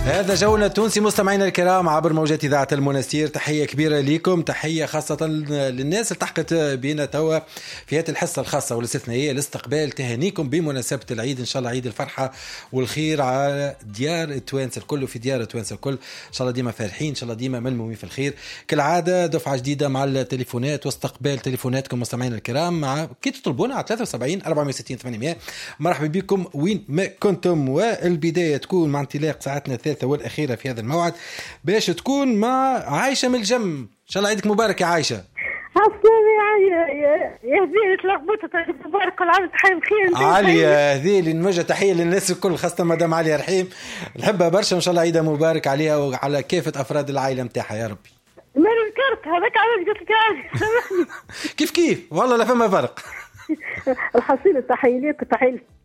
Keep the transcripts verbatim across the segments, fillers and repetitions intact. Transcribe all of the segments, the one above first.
هذا جونا التونسي مستمعينا الكرام عبر موجات إذاعة المنستير. تحية كبيرة لكم، تحية خاصة للناس اللي التحقت بنا توا في هذه الحصة الخاصة والاستثنائية لاستقبال تهانيكم بمناسبة العيد. إن شاء الله عيد الفرحة والخير على ديار التوانسة الكل وفي ديار التوانسة الكل. إن شاء الله ديما فرحين، إن شاء الله ديما ملمومين في الخير. كالعادة دفعة جديدة مع التليفونات واستقبال تليفوناتكم مستمعينا الكرام مع كي تطلبونا على ثلاثة وسبعين أربعمية وستين ثمانمية. مرحبا بكم وين ما كنتم، والبداية تكون مع انطلاق ساعتنا الثالثة والأخيرة في هذا الموعد باش تكون مع عايشة من الجم. إن شاء الله عيدك مبارك يا عايشة. عسلامة يا يا هذيل، تلخبطت. عيدك مبارك، كل عام وانت بخير. علي يا هذيل، نوجه تحية للناس الكل خاصة مدام علي رحيم، نحبها برشا. إن شاء الله عيدها مبارك عليها وعلى كافة أفراد العائلة متاعها يا ربي. ما ذكرت هذاك علاش قلت لك سامحني. كيف كيف والله لا فما فرق. الحصيلة تحية ليك وتحية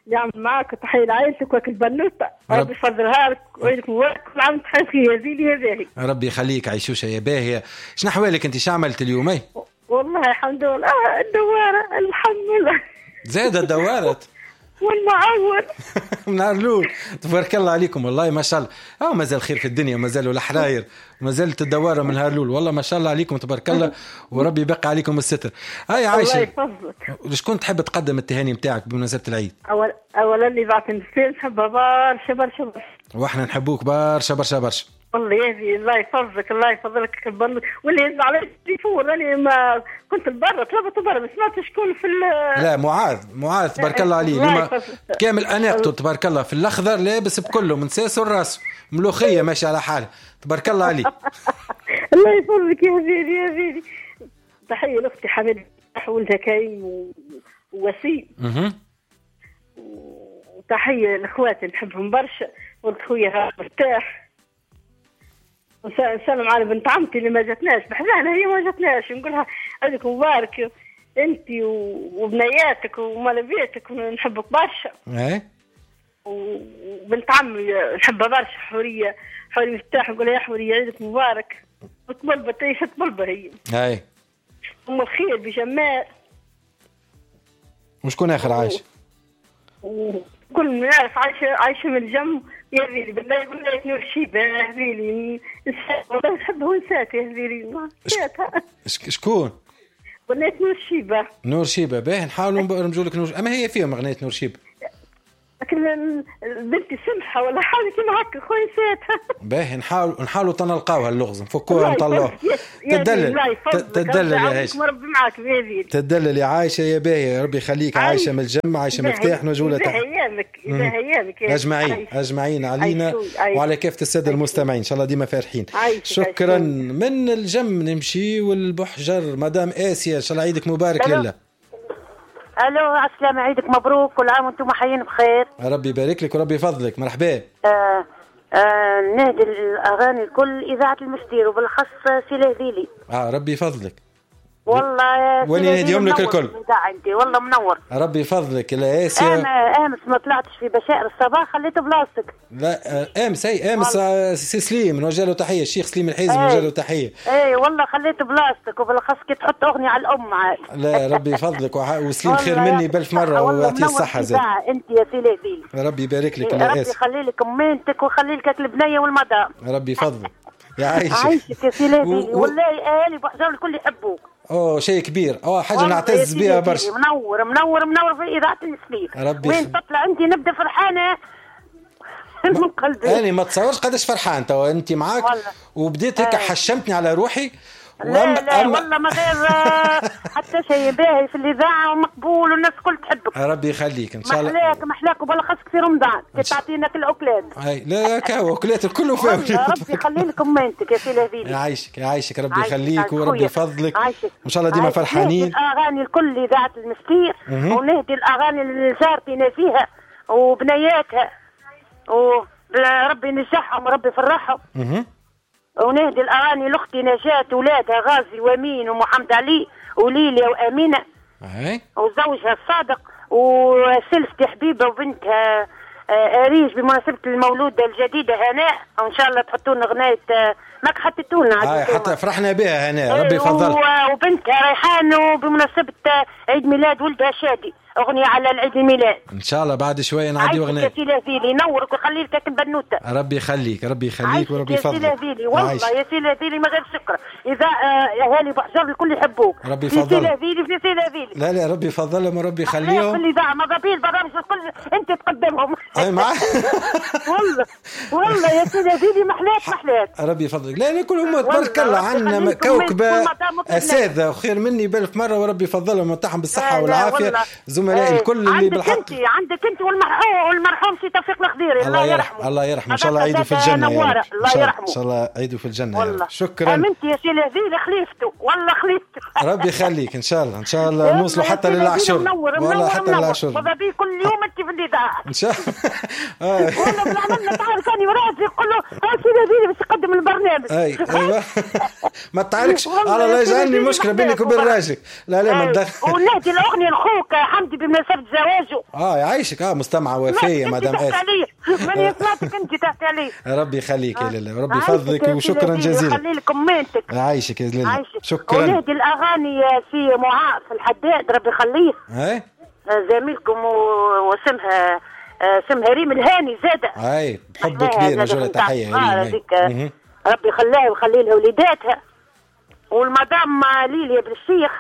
اللي عم معك وتحية لعائلتك وكل بنوتة، ربي يفضلها لك وعيدك مبارك، كل عام وانت بخير يا زيني يا باهي. ربي يخليك عيشوشة يا باهية. شنو أحوالك أنت، شو عملت اليوم؟ اي والله الحمد لله، الدوارة الحمد لله زاد الدوارة والمعور من الاول. تبارك الله عليكم والله ما شاء الله. اه مازال خير في الدنيا، مازالوا الحراير، مازالت الدواره من هارلول. والله ما شاء الله عليكم تبارك الله، وربي يبقى عليكم الستر. هاي عايشه، الله يفضلك. شكون تحب تقدم التهاني نتاعك بمناسبة العيد؟ اول اولا اللي بعت المسير نحبها برشا برشا برشا، واحنا نحبوك برشا برشا برشا. والله يا الله يفضلك، الله يفضلك. واللي يهز على التليفون راني ما كنت لبرا، طلبت برا ما سمعت شكون في لا معاذ، معاذ تبارك الله عليه اليوم كامل اناقته تبارك الله، في الاخضر لابس بكله من ساسه لراسه، ملوخية ماشي على حاله تبارك الله عليه. الله يفضلك يا زيدي يا زيدي. تحية لاختي حميد ولدها كريم ووسيم، وتحية لاخواتي نحبهم برشا، ولد خويا مرتاح. نسلم على بنت عمتي اللي ما جاتناش بحذانا، هي ما جاتناش، نقولها عيدك مبارك انت وبنياتك ومال بيتك، نحبك برشا. ايه وبنت عمي نحبها برشا حورية، حورية مفتاح، نقولها يا حورية عيدك مبارك. وتبلبه تعيش تبلبه هي. اي ام الخير بجمال. وشكون اخر عايشه؟ كل ما يعرف عايشه عايشه من الجم يا زيلي بالله بالله نور شيبة يا زيلي، والله نحبها ونسات يا زيلي. شكون؟ غنية نور شيبة. نور شيبة باهي، نحاولوا نرمجوا لك نور، اما هي فيهم اغنية نور شيبة. لكن بنتي سمحه ولا حاجة كيما هكا خويا نساتها. باهي نحاول نحاولوا تنلقاوها اللغز، نفكوها نطلعوها. تدلل تدلل يا عايشه، ربي معاك يا زيد. تدلل يا عايشه يا باهي، ربي يخليك. عايشه من الجم، عايشه مفتاح، نوجهوا لها تحية. ايامك ايامك اجمعين اجمعين علينا وعلى كافة السادة المستمعين، ان شاء الله ديما فرحين. شكرا. من الجم نمشي والبحجر، مدام اسيا ان شاء الله عيدك مبارك. لله الو، عسلامة، عيدك مبروك، كل عام وانتم حيين بخير. ربي يبارك لك وربي يفضلك. مرحبا. آه آه نهدي الاغاني الكل اذاعة المستير وبالخص سي الهذيلي. اه ربي يفضلك والله، ولي نهديهم لك الكل. عندي والله منور. ربي يفضلك يا اسيا. انا امس ما طلعتش في بشائر الصباح، خليت بلاصتك. لا امس اي امس سي سليم نوجه له تحية، الشيخ سليم الحيزي نوجه له تحية. اي والله خليت بلاصتك، وبالاخص كي تحط اغنية على الام عاد. لا ربي يفضلك، وسليم خير مني بألف مرة ويعطيه الصحة زاد. انت يا سي الهذيلي ربي يبارك لك يا ربي يخلي لك امينتك ويخلي لك البنية والمدام. ربي يفضلك يا عايشك. عايشك يا سي الهذيلي والله اهالي بحجر الكل يحبوك. اوه شيء كبير، اوه حاجة نعتز بها برشا. منور منور منور في اذاعة المسليم. وين تطلع انت نبدا فرحانة من قلبي. انا ما تصورش قداش فرحان توا انت معاك، وبديت هيك حشمتني على روحي. لا لا أم... والله ما غير حتى شيء باهي في الاذاعة ومقبول والناس الكل تحبك. ربي يخليك ان شاء الله. محلاك محلاك وبالخصك في رمضان كي تعطينا الاكلات. اي لا كاو اكلات الكل وفاو. ربي يخلي لك امانتك يا سي الهذيلي. يعيشك يعيشك ربي يخليك وربي يفضلك، وان شاء الله ديما فرحانين. الاغاني الكل اذاعة المستير، ونهدي الاغاني لجارتي نزيهة وبنياتها، وربي ينجحهم وربي يفرحهم. ونهدي الأغاني لأختي نجاة ولادها غازي وأمين ومحمد علي وليليا وأمينة وزوجها الصادق، وسلفتي حبيبة وبنتها أريج بمناسبة المولودة الجديدة هناء، وإن شاء الله تحطوا لنا غناية ماك حطيتوا لنا حتى فرحنا بها هناء ربي يفضلك. وبنتها ريحان وبمناسبة عيد ميلاد ولدها شادي. اغنية على العيد الميلاد. ان شاء الله بعد شوية نعدي اغنية. يا سي الهذيلي ينورك ويخلي لك البنوته. ربي يخليك ربي يخليك وربي يفضلك. يا سي الهذيلي والله يا سي الهذيلي ما غير شكر. اذا اهالي بحجر الكل يحبوك. ربي يفضلك. في سي الهذيلي في سي الهذيلي. لا لا ربي يفضلهم وربي يخليهم. في الاذاعة ماذا بيه البرامج الكل انت تقدمهم. اي معاك. والله والله يا سي الهذيلي محلاك محلاك. ربي يفضلك. لا لا كلهم تبارك الله عندنا كوكبه اساتذة وخير مني بالف مرة وربي يفضلهم ويمتعهم بالصحة والعافية. زملائي الكل اللي بالحق. عندك انت عندك انت والمرحوم والمرحوم سي توفيق الخضيري الله يرحمه. الله يرحمه ان شاء الله عيده في الجنة يا رب. الله يرحمه ان شاء الله عيده في الجنة يا رب. شكرا. امنت يا سي الهذيلي خليفته والله خليفته. ربي يخليك ان شاء الله ان شاء الله نوصلوا حتى للعشر. والله حتى للعشر. ماذا بي كل يوم انت في الاذاعة ان شاء الله. والله بالعمل تعرف اني وراجلي يقول له سي الهذيلي باش يقدم البرنامج. اي ايوه ما تعاركش على الله يجعلني مشكلة بينك وبين راجلك. لا لا ما تدخل. ونهدي الاغنية لخوك حمدي بمناسبة زواجه. اه يعيشك. اه مستمعه وفيه مدام اسف. ماني سمعتك انت تحكي عليه. ربي يخليك يا لاله ربي يفضلك وشكرا جزيلا. يخلي لك امانتك. يعيشك يا لاله شكرا. ونهدي الاغاني في معاذ الحداد ربي يخليه. اي زميلكم واسمها اسمها ريم الهاني زاده. اي بحب كبير نجوله تحية ريم. ربي يخليها ويخلي لها وليداتها والمدام ليليا بالشيخ.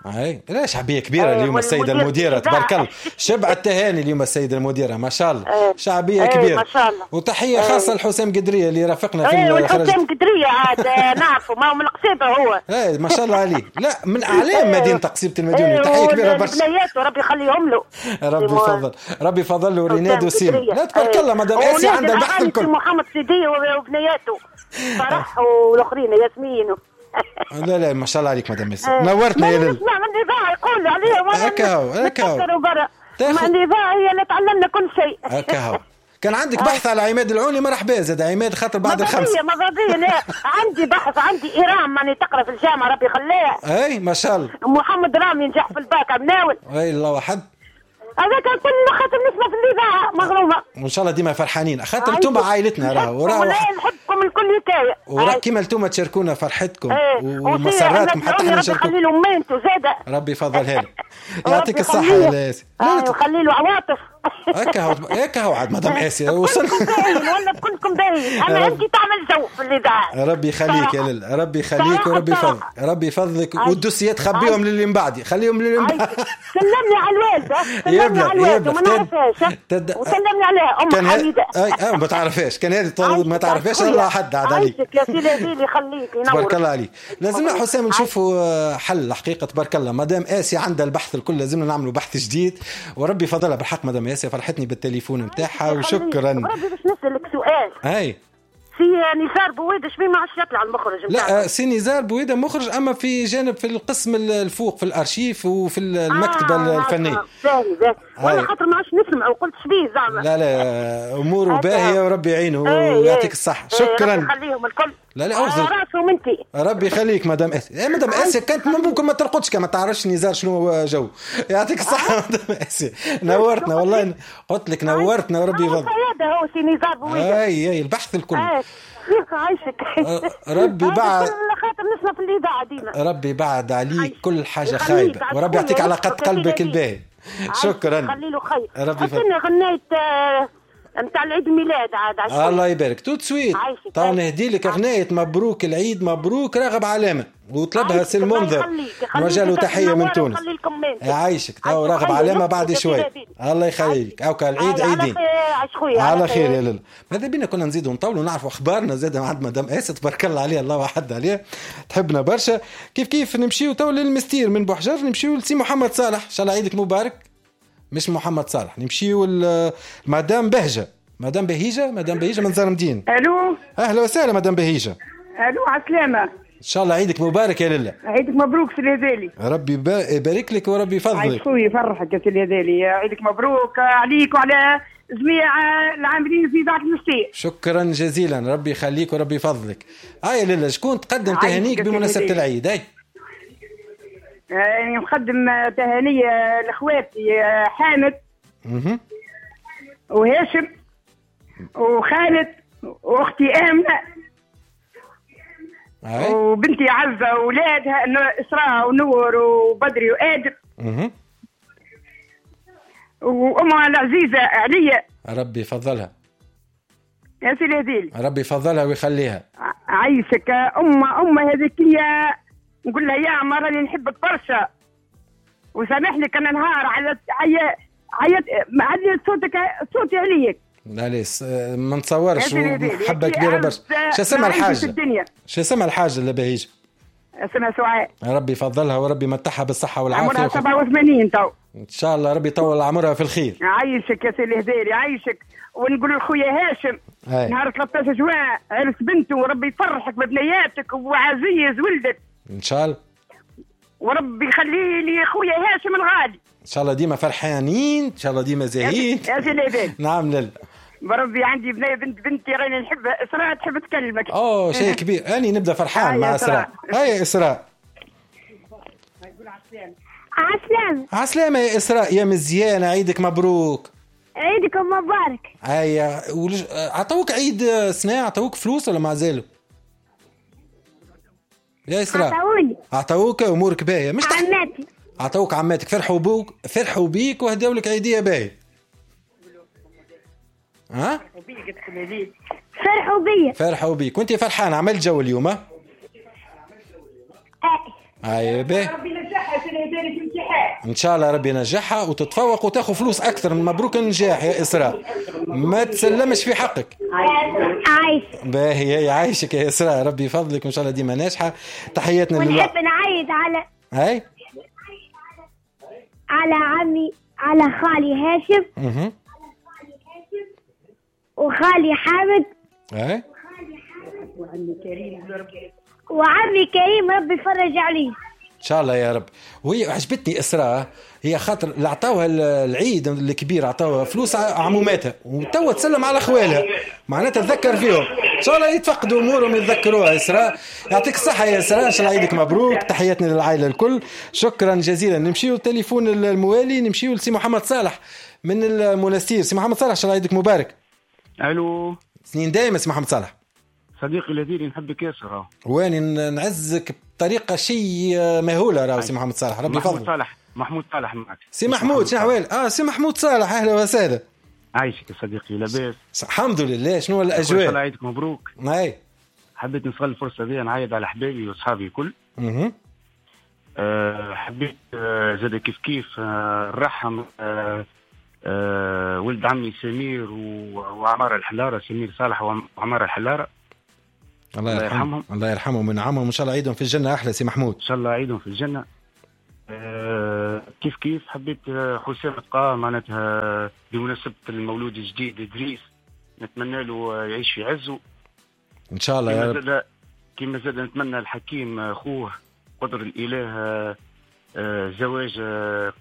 اي لا شعبية كبيرة اليوم السيدة المديرة تبارك الله. شبع التهاني اليوم السيدة المديرة ما شاء الله. شعبية كبيرة ما شاء الله. وتحية خاصة لحسام قدرية اللي رافقنا في الخرج. حسام قدرية عاد نعرفه ما هو من القصيبه هو. اي ما شاء الله عليه. لا من اعلام مدينة قصيبه المدينة. تحية كبيرة برشا. بنياته ربي يخليهم له. ربي يفضل ربي يفضل له ريناد وسيم. لا تبارك الله مدام اسيا عندها البحث الكل. محمد سيدي وبنياته فرح والاخرين ياسمين. لا لا ما شاء الله عليك مدام ياسر نورتنا يا ليل. نسمع من الإذاعة يقول عليها وانا هكا هو هكا هو من الإذاعة هي اللي تعلمنا كل شيء. هكا هو. كان عندك بحث على عماد العوني مرحبا زاد عماد خاطر بعد الخمسة. ماذا بيا لا عندي بحث عندي إيرام ماني تقرا في الجامعة ربي يخليها. اي ما شاء الله. محمد رامي نجح في الباك عمناول. اي الله واحد. هذاك كل خاطر نسمع في الإذاعة مغرومة. وإن شاء الله ديما فرحانين خاطر انتم عائلتنا راه وراه نحبكم الكل حكاية. وراه كيما انتم تشاركونا فرحتكم ومسراتكم حتى احنا نشاركوكم. ربي يخلي له ميمته زاده. ربي يفضلها لك. يعطيك الصحة يا ياسر. وخلي له عواطف. هكا هو هكا هو عاد مدام آسيا وصل. ولا كلكم باهيين اما انت تعمل جو في الإذاعة. ربي يخليك يا لاله ربي يخليك وربي يفضلك ربي يفضلك. والدوسيات خبيهم للي من بعدي خليهم للي من بعدي. سلمني على الوالدة سلمني على الوالدة وما نعرفهاش وسلمني عليها ام حميده. اي اه ما تعرفهاش كان هذه ما تعرفهاش الله حد عاد عليك. يا سي الهذيلي يخليك ينور. تبارك الله عليك. لازمنا حسام نشوفوا حل الحقيقة تبارك الله مدام آسيا عندها البحث الكل لازمنا نعملوا بحث جديد وربي فضلها بالحق مدام آسيا فرحتني بالتليفون نتاعها وشكرا. ربي باش نسالك سؤال. اي سي نزار بويده شبيه ما عادش يطلع المخرج نتاعك؟ لا سي نزار بويده مخرج اما في جانب في القسم الفوق في الارشيف وفي المكتبة آه الفنية. باهي باهي ولا خاطر ما عادش نسمع وقلت شبيه زعما. لا لا اموره باهيه وربي يعينه ويعطيك الصحة. شكرا. ربي يخليهم الكل. لا لا أفضل. راسهم انت. ربي يخليك مدام اسيا. مدام اسيا كانت ممكن ما ترقدش كما تعرفش نزار شنو جو. يعطيك الصحة مدام اسيا نورتنا والله قلت لك نورتنا وربي يفضل. هو سي نزار بويده. اي اي البحث الكل. عايشك ربي بعد خاطر نسمع في الاذاعة ديما. ربي بعد عليك كل حاجة خايبة وربي يعطيك على قد قلبك الباهي. شكرا. خلي له خير. ربي يفضل. غنيت نتاع العيد الميلاد عاد عشان. الله يبارك tout de suite. طبعا نهدي لك اغنية مبروك العيد مبروك راغب علامة وطلبها سي المنذر نوجه له تحية من تونس. يعيشك تو راغب علامة بعد شوي. الله يخليك. اوكا العيد عيدين على خير يا لاله. ماذا بينا كنا نزيدوا نطولوا نعرفوا اخبارنا زاد عند مدام اسيا تبارك الله عليها الله وحد عليها تحبنا برشا. كيف كيف نمشيو تو للمستير من بوحجر نمشيو لسي محمد صالح ان شاء الله عيدك مبارك. مش محمد صالح نمشيو لمدام بهجة مدام بهيجة مدام بهيجة من زرمدين. الو اهلا وسهلا مدام بهيجة. الو عسلامة ان شاء الله عيدك مبارك يا لاله. عيدك مبروك سي الهذالي. ربي يبارك لك وربي يفضلك. عيد خويا يفرحك يا سي الهذالي. عيدك مبروك عليك وعلى جميع العاملين في اذاعة المستير. شكرا جزيلا ربي يخليك وربي يفضلك. هاي لاله شكون تقدم تهانيك بمناسبة العيد؟ اي يعني نقدم تهانية لاخواتي حامد وهاشم وخالد واختي آمنة وبنتي عزة وولادها إسراء ونور وبدري وآدم. وامها العزيزة عليا. ربي يفضلها يا سي الهذيلي. ربي يفضلها ويخليها. عايشك. أم أم هذيك نقول لها يا عمر راني نحبك برشا وسامحني كان نهار على عيا عيط عندي صوتك صوتي عليك. لا ليس ما نتصورش، محبة كبيرة برشا. شو اسمها الحاجة؟ شو اسمها الحاجة اللي بهيج؟ اسمها سعاد. ربي يفضلها وربي يمتعها بالصحة والعافية. عمرها سبعة وثمانين تو. ان شاء الله ربي يطول عمرها في الخير. عايشك يا سي الهذيلي عايشك. ونقول لخويا هاشم هاي. نهار ثلاثة عشر جوان عرس بنته، وربي يفرحك ببنياتك وعزيز ولدك ان شاء الله، وربي يخلي لي خويا هاشم الغالي. ان شاء الله ديما فرحانين، ان شاء الله ديما زاهين. يا سي الهذيلي. نعم لله. بربي عندي بنيه بنت بنتي راني نحبها، اسراء تحب تكلمك. اوه شيء كبير، اني نبدا فرحان مع اسراء. هاي اسراء. عسلامة. عسلامة يا إسراء يا مزيانة، عيدك مبروك. عيدكم مبارك. هيا ولج... عطوك عيد سنة، عطوك فلوس ولا ما زالوا؟ يا إسراء عطوني. عطوك أمورك باهية مش تح... عماتي. عطوك عماتك، فرحوا بوك، فرحوا بيك وهداو لك عيدية باهية. ها؟ فرحوا بيا. فرحوا بيك وانت فرحانة، عملت جو اليوم ها؟ هاي باهي. ربي ينجحها في الامتحان ان شاء الله، ربي ينجحها وتتفوق وتاخذ فلوس اكثر. مبروك النجاح يا اسراء، ما تسلمش في حقك. عايش باهي، هي عايشك يا اسراء، ربي يفضلك وان شاء الله ديما ناجحة. تحياتنا لله. ونحب نعيد على هاي على عمي، على خالي هاشم اها وخالي حامد اي وعمي كريم وعمي كريم، ربي يفرج عليه ان شاء الله يا رب. وهي عجبتني اسراء، هي خاطر اللي عطاوها العيد الكبير عطاوها فلوس عموماتها وتوا تسلم على خوالها، معناتها تذكر فيهم ان شاء الله يتفقدوا امورهم يتذكروها. اسراء يعطيك الصحة يا اسراء، ان شاء الله عيدك مبروك، تحياتنا للعائلة الكل، شكرا جزيلا. نمشيو التليفون الموالي، نمشيو لسي محمد صالح من المنستير. سي محمد صالح ان شاء الله عيدك مبارك. الو، سنين دايما سي محمد صالح. صديقي الذي نحبك ياسر، واني نعزك بطريقة شيء مهولة. راهو سي محمد صالح ربي يفضلك. محمود صالح، محمود صالح معك سي محمود، شنو احوالك؟ اه سي محمود صالح، اهلا وسهلا. عايشك يا صديقي، لاباس؟ الحمد لله. شنو الاجواء؟ الله يعيدك مبروك. اي حبيت نستغل الفرصة دي نعيد على احبابي واصحابي الكل. اها أه حبيت أه زاد كيف كيف أه نرحم أه أه ولد عمي سمير وعمار الحلاره، سمير صالح وعمار الحلاره، الله يرحمهم. الله يرحمهم وينعمهم، وان شاء الله عيدهم في الجنة. احلى سي محمود، ان شاء الله عيدهم في الجنة. أه كيف كيف حبيت حسام تقا معناتها بمناسبة المولود الجديد ادريس، نتمنى له يعيش في عزه ان شاء الله يا رب. كيما زاد نتمنى الحكيم خوه قدر الاله زواج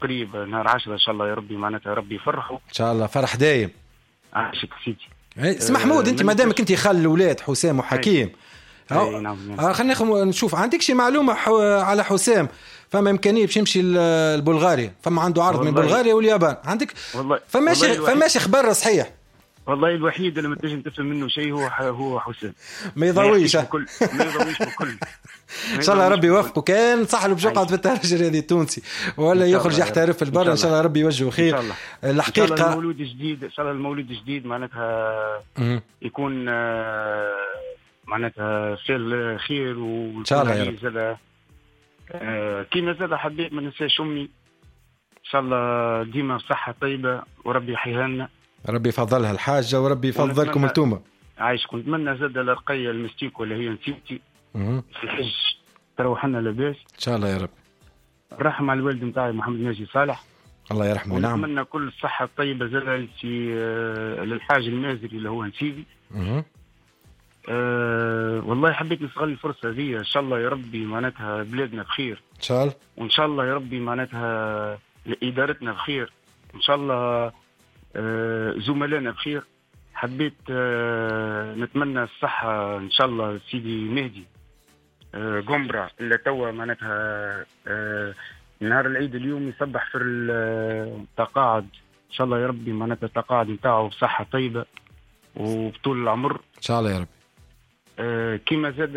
قريب نهار عشرة ان شاء الله يا ربي، معناتها ربي يفرحه ان شاء الله، فرح دايم. عاشك سيدي. سي محمود، انت ما دامك انت خال الاولاد حسام وحكيم، أي نعم نعم. خلينا نشوف عندك شي معلومة على حسام؟ فما امكانية باش يمشي لبلغاريا، فما عنده عرض من بلغاريا واليابان، عندك فماش فماش خبر صحيح؟ والله الوحيد اللي ما تنجم تفهم منه شيء هو هو حسام، ما يضويش بكل، ما يضويش بكل. ان شاء الله ربي يوفقه، كان صح له باش يقعد في الترجي الرياضي التونسي ولا يخرج يحترف في البر، ان شاء الله ربي يوجهه خير. الحقيقة ان شاء الله المولود الجديد، ان شاء الله المولود الجديد معناتها يكون معناتها في خير، وان شاء الله يا رب. كيما زاد حبيت ما ننساش امي، ان شاء الله ديما صحة طيبة وربي يحييها لنا، ربي يفضلها الحاجة وربي يفضلكم انتوما. عايش. كنت نتمنى زاد الرقية المستيك ولا هي نسيتي في الحج تروح لنا لاباس ان شاء الله يا رب. الرحمة على الوالد نتاعي محمد ناجي صالح، الله يرحمه. نعم. نتمنى كل الصحة الطيبة زاد للحاج المازري اللي هو نسيبي. أه والله حبيت نستغل الفرصة هذه، ان شاء الله يا ربي معناتها بلادنا بخير ان شاء الله، وان شاء الله يا ربي معناتها ادارتنا بخير، ان شاء الله أه زملائنا بخير. حبيت أه نتمنى الصحة ان شاء الله سيدي مهدي أه قمرة اللي توا معناتها أه نهار العيد اليوم يصبح في التقاعد، ان شاء الله يا ربي معناتها التقاعد نتاعو بصحة طيبة وبطول العمر ان شاء الله يا رب. أه كيما زاد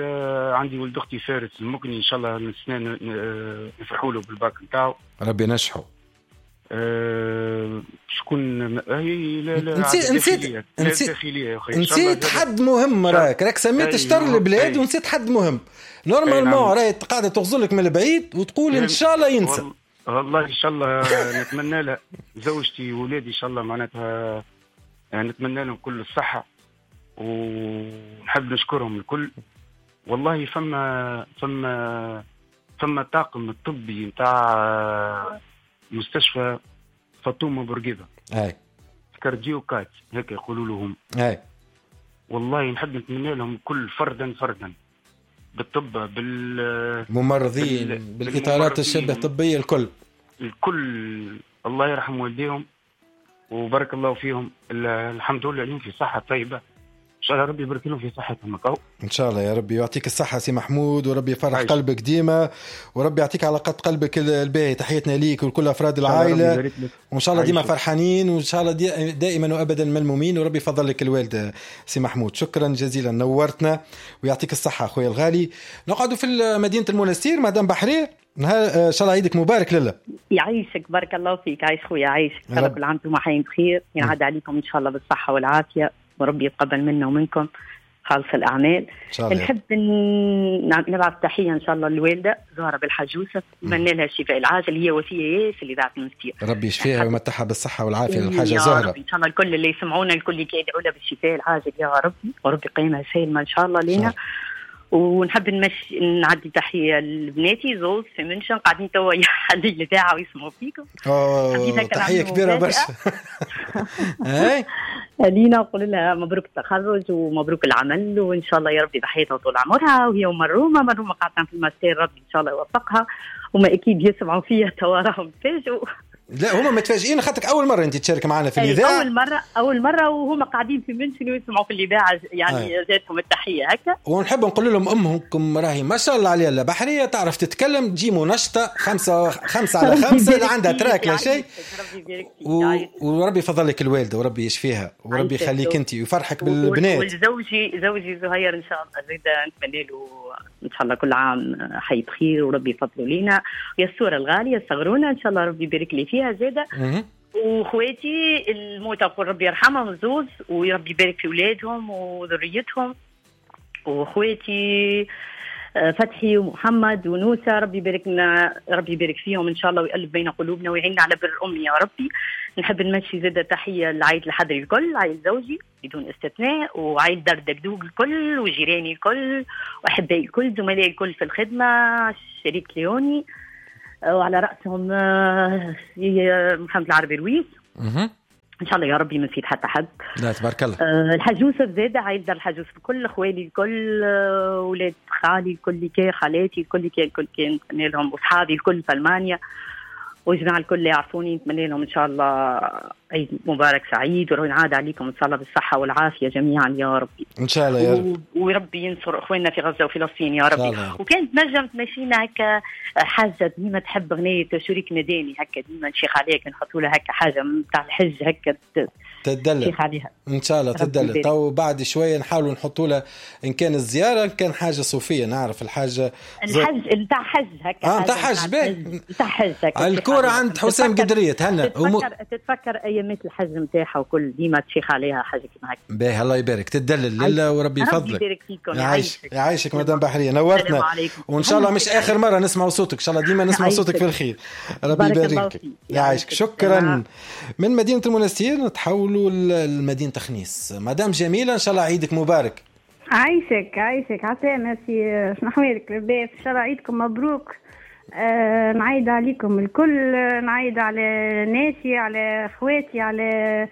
عندي ولد اختي فارس المكني، ان شاء الله السنة نفرحوا له بالباك نتاعو، ربي ينجحه. أه شكون هي لا لا نسيت نسيت نسيت نسيت حد مهم، راك راك سميت شطر البلاد ونسيت حد مهم. normalement راهي قاعدة تغزلك من البعيد وتقول ان شاء الله ينسى. والله ان شاء الله نتمنى لها زوجتي وولادي ان شاء الله معناتها نتمنى لهم كل الصحة ونحب نشكرهم الكل. والله فما فما فما طاقم الطبي نتاع مستشفى فاطمة بورقيبة، اي cardio quatre هيك يقولوا لهم، اي والله نحب نتمنى لهم كل فردا فردا بالطب بالممرضين بال... بالاطارات الشبه الطبية الكل الكل، الله يرحم والديهم وبارك الله فيهم. الحمد لله اليوم في صحة طيبة، ان شاء الله ربي يبارك لهم في صحتهم. ان شاء الله يا ربي يعطيك الصحة سي محمود، وربي يفرح عايش. قلبك ديما، وربي يعطيك على قد قلبك الباهي. تحياتنا ليك ولكل افراد العائلة، وان شاء الله ديما فرحانين، وان شاء الله دائما وابدا ملمومين، وربي يفضل لك الوالدة سي محمود. شكرا جزيلا، نورتنا ويعطيك الصحة اخويا الغالي. نقعدوا في مدينة المنستير، مدام بحري، نهار ان شاء الله عيدك مبارك. لله يعيشك، بارك الله فيك. عايش خويا، عايشك. ان شاء الله كل عام وانتم حيين بخير، ينعاد عليكم ان شاء الله بالصحة والعافية، وربي يتقبل منا ومنكم خالص الأعمال. نحب نبعث تحية إن شاء الله للوالدة زهرة بالحاج يوسف، نتمنى لها الشفاء العاجل، هي وفية ياسر اللي ذاعت المستير، ربي يشفيها ويمتعها بالصحة والعافية للحاجة زهرة. إن شاء الله الكل اللي يسمعونا الكل يدعوا لها بالشفاء العاجل يا ربي، وربي قيمها سالمة إن شاء الله لينا. ونحب نمشي نعدي تحية لبناتي زوز في منشن قاعدين توا يحلي الإذاعة ويسمعوا فيكم. أوه، تحية كبيرة برشا. اي لينا نقول لها مبروك التخرج ومبروك العمل، وإن شاء الله يا ربي بحياتها طول عمرها. وهي ومرومة، مرومة قاعدة في الماستير، ربي إن شاء الله يوفقها. وما أكيد يسمعوا فيها توا راهم تفاجئوا. لا هما متفاجئين خاطرك أول مرة أنت تشارك معنا في الإذاعة. أول مرة، أول مرة، وهما قاعدين في منشن ويسمعوا في الإذاعة، يعني جاتهم التحية هكا. ونحب نقول لهم أمهم راهي ما شاء الله عليها لا بحرية، تعرف تتكلم، تجي منشطة خمسة خمسة على خمسة، لا عندها trac لا شيء. و... وربي يفضل لك الوالدة وربي يشفيها وربي يخليك أنت ويفرحك بالبنات. وزوجي زوجي زهير إن شاء الله زيد نتمنى له إن شاء الله كل عام حي بخير وربي يفضله لينا. ويا الصورة الغالية صغرونا إن شاء الله ربي يبارك لي فيها زادة. وخواتي الموتى نقول ربي يرحمهم زوز، وربي يبارك في أولادهم وذريتهم. وخواتي فتحي ومحمد ونوسة ربي يباركنا، ربي يبارك فيهم إن شاء الله، ويقلب بين قلوبنا ويعيننا على بر الأم يا ربي. نحب نمشي زادة تحية لعائلة الحضري الكل، عائلة زوجي بدون استثناء، وعائلة دار دقدوق الكل، وجيراني الكل، وأحبائي الكل، زملائي الكل في الخدمة، شريك ليوني، وعلى رأسهم محمد العربي رويس. إن شاء الله يا ربي ما نسيت حتى حد. لا تبارك الله. أه الحاج يوسف زاد، عائلة دار الحاج يوسف الكل، خوالي الكل، أولاد خالي الكل، كي خالاتي الكل، كي الكل كي نتمنى لهم، وصحابي الكل في ألمانيا، وجماعة الكل اللي يعرفوني نتمنى لهم إن شاء الله عيد مبارك سعيد، وينعاد عليكم إن شاء الله بالصحة والعافية جميعا يا ربي. إن شاء الله يا رب. وربي ينصر إخواننا في غزة وفلسطين يا ربي. وكانت نجم تمشينا هكا حاجة ديما تحب أغنية شريك مداني هكا ديما نشيخ عليك، نحطوا لها هكا حاجة متاع الحج هكا تدلل عليها. إن شاء الله تدلل. تو بعد شوية نحاولوا نحطوا لها إن كان الزيارة إن كان حاجة صوفية، نعرف الحاجة الحج نتاع حج هكا. آه نتاع حج باهي، نتاع حج هكا. الكورة عند حسام قدرية تهنى. تتفكر, تتفكر أيامات الحج نتاعها وكل ديما تشيخ عليها حاجة كيما هكا. باهي الله يبارك، تدلل لله وربي يفضلك. ربي يبارك فيكم. يعيشك يعيشك مدام بحرية، نورتنا، وإن شاء الله مش آخر مرة نسمع صوتك، إن شاء الله ديما نسمع صوتك في الخير. ربي يبارك يعيشك. شكرا. من مدينة المنستير نتحولوا لمدينة خنيس. مدام جميلة إن شاء الله عيدك مبارك. عايشك عايشك عسلامة سي، شنو أحوالك؟ لاباس؟ إن شاء الله عيدكم مبروك. آه، نعيد عليكم الكل، نعيد على ناسي، على اخواتي، على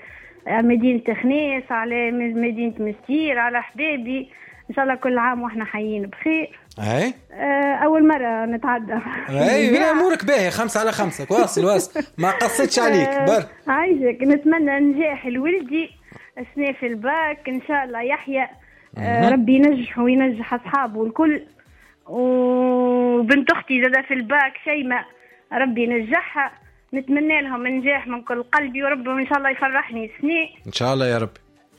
مدينة خنيس، على مدينة مستير، على أحبابي. إن شاء الله كل عام وإحنا حيين بخير. أي آه، أول مرة نتعدى. أي أمورك باهية، خمسة على خمسة، واصل واصل، ما قصتش عليك بر. عايشك. نتمنى نجاح لولدي السنة في الباك إن شاء الله يحيى، آه، ربي ينجح وينجح أصحابه الكل. وبنت أختي زادة في الباك شيماء، ربي ينجحها. نتمنى لهم نجاح من كل قلبي، وربي إن شاء الله يفرحني السنة إن شاء الله يا رب.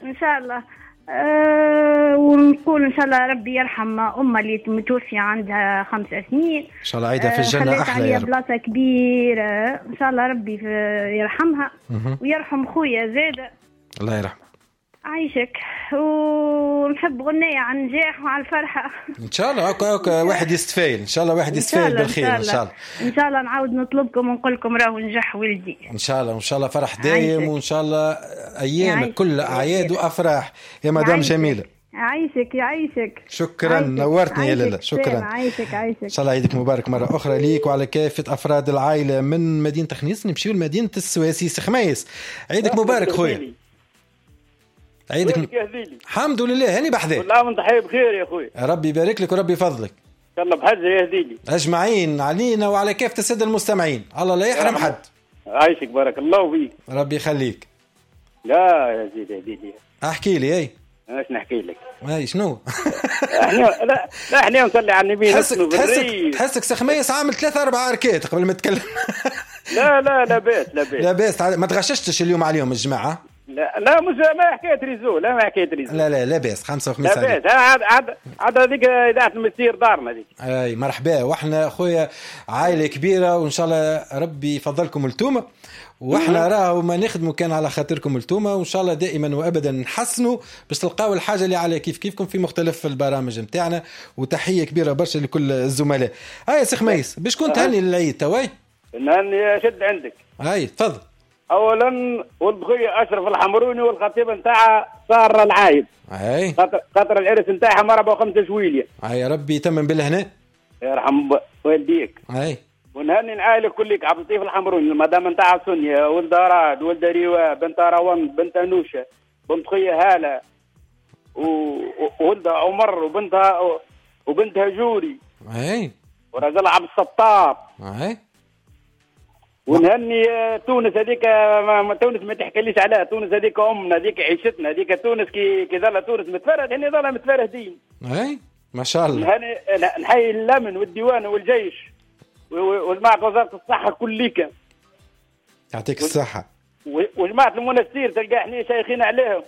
إن شاء الله. أه ونقول ان شاء الله ربي يرحم امها اللي متوفيه عندها خمس سنين، ان شاء الله عيدها في الجنة أه احلى يا رب، بلاصة كبيرة ان شاء الله ربي يرحمها ويرحم خويا زاده الله يرحمه. عايشك. ونحب غنية على النجاح وعلى الفرحة إن شاء الله. هكا هكا واحد يستفايل إن شاء الله، واحد يستفايل بالخير إن شاء الله. إن شاء الله نعاود نطلبكم ونقول لكم راهو نجح ولدي إن شاء الله، وإن شاء الله فرح دايم، وإن شاء الله أيامك كل أعياد وأفراح يا مدام جميلة. عايشك يعيشك. شكرا، نورتني يا لاله. شكرا. عايشك عايشك. ان شاء الله عيدك مبارك مرة اخرى ليك وعلى كافة افراد العائلة. من مدينة خنيس نمشيو لمدينة السواسي سخميس. عيدك مبارك خويا. عيدك م... الحمد لله هاني بحذاك. كل عام وانت حي بخير يا خويا. ربي يبارك لك وربي يفضلك. ان شاء الله بحجة يا هديلي. اجمعين علينا وعلى كافة السادة المستمعين، الله لا يحرم حد. عايشك بارك الله فيك. ربي يخليك. لا يا زيدي هديلي. احكي لي. اي اش نحكي لك؟ اي شنو؟ احنا لا لا احنا نصلي على النبي. تحسك تحسك تحسك سخميس عامل ثلاثة أربعة أركات قبل ما تتكلم. لا لا لا باس لا باس لا باس. ما تغششتش اليوم عليهم الجماعة؟ لا لا مش ما حكاية réseau، لا ما حكاية réseau، لا لا لا باس. خمسة وخميس لا باس. عاد عاد عاد هذيك اذاعة المسير دارنا هذيك. اي مرحبا، واحنا خويا عائلة كبيرة وان شاء الله ربي يفضلكم التومه، واحنا راهو ما نخدموا كان على خاطركم التومه، وان شاء الله دائما وابدا نحسنوا باش تلقاو الحاجة اللي على كيف كيفكم في مختلف البرامج نتاعنا. وتحية كبيرة برشا لكل الزملاء. هاي سي خميس باش كنت تهني للعيد تواي؟ نهني شد عندك. هاي تفضل. اولا ولد خويا اشرف الحمروني والخطيبه نتاعها ساره العايب. اي خاطر خاطر العرس نتاعها مرة وخمسة جويليه. اي ربي يتمم بالهنا. يرحم والديك. اي ونهني العائلة كلك عبد اللطيف الحمروني المدام نتاعها سونيا ولد راد ولد ريوا بنت روان بنت انوشه بنت خويا هاله وولدها عمر وبنتها وبنتها جوري. اي ورجل عبد الستار. اي ونهني تونس هذيك، ما تونس ما تحكيليش عليها، تونس هذيك امنا، هذيك عيشتنا، هذيك تونس كي كي ظل تونس متفرد هني ظل متفردين. اي ما شاء الله. نهني نحيي الامن والديوان والجيش وجماعه وزارة الصحة كليك. يعطيك الصحة. وجماعه المنستير تلقى احنا شايخين عليهم.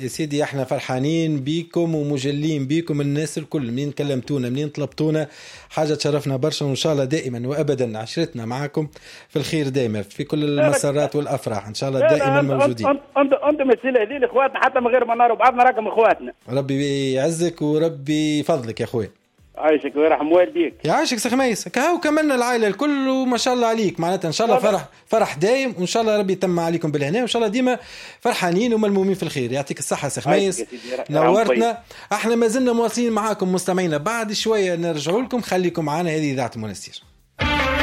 يا سيدي احنا فرحانين بيكم ومجلين بيكم الناس الكل، منين كلمتونا منين طلبتونا حاجة تشرفنا برشا، وان شاء الله دائما وابدا عشرتنا معاكم في الخير دائما في كل المسارات والافراح ان شاء الله دائما موجودين. انت انت مثل هذه اخواتنا حتى من غير ما ناروا بعضنا راكم اخواتنا. ربي يعزك وربي يفضلك يا خويا. عايشك ويرحم والديك. يعيشك سي خميس. كهو كملنا العائلة الكل وما شاء الله عليك، معناتها ان شاء الله فرح فرح دايم، وان شاء الله ربي يتم عليكم بالهنا، وان شاء الله ديما فرحانين وملمومين في الخير. يعطيك الصحة سي خميس، نورتنا. احنا ما زلنا مواصلين معاكم مستمعينا، بعد شوية نرجعوا لكم، خليكم معنا. هذه اذاعة المنستير.